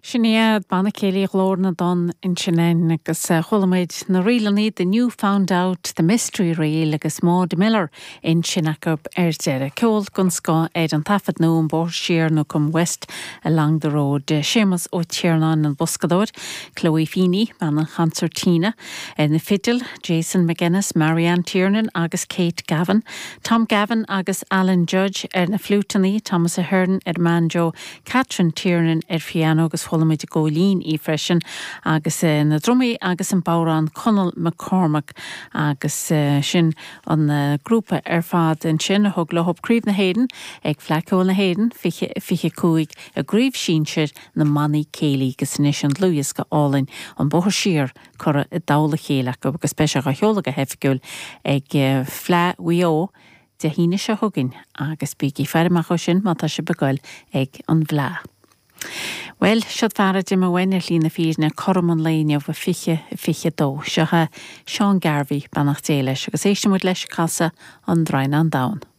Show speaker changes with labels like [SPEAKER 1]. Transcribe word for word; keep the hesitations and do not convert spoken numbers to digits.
[SPEAKER 1] Sin iad Banna Céilí Ghlór na dTonn ansin agus chuala muid na ríleanna The New Found Out, The Mystery Reel agus Maud Miller ansin acu ar deireadh. Ceol den scoth ar an taifead nua An Bóthar Siar nó Come West Along the Road. Séamus Ó Tiarnáin an boscadóir, Chloe Feeney bean an chansairtín, ar na fidil, Jason McGuinness, Marianne Tiernan agus Kate Gavin, Tom Gavin agus Alan Judge ar na fliúiteanna, Thomas Ahern ar banjo, Catherine Tiernan ar piano agus chuala muid i gcóilín í freisin agus uh, na drumaí agus an bodhrán Conall McCormack agus uh, sin an uh, grúpa ar fad ansin a thug leo Craobh na hÉireann ag Fleadh Cheoil na hÉireann fiche fiche cúig i gcraobh shinsir na mbannaí céilí agus anois an dlúthdhiosca álainn an Bóthar Siar curtha i dtoll a chéile acu agus beidh sé á sheoladh go hoifigiúil ag Fleadh Mhaigh Eo Dé hAoine seo chugainn agus bígí ag faire amach sin má tá sibh ag goil ag an bhFleadh. Well, siod fear a d'imigh uainn ar shlí na fírinne cothrom an lae inniu fiche fiche dó. Seo é Seán Garvey beannacht Dé leis agus éistfidh muid leis ag casadh an Draighneán Donn.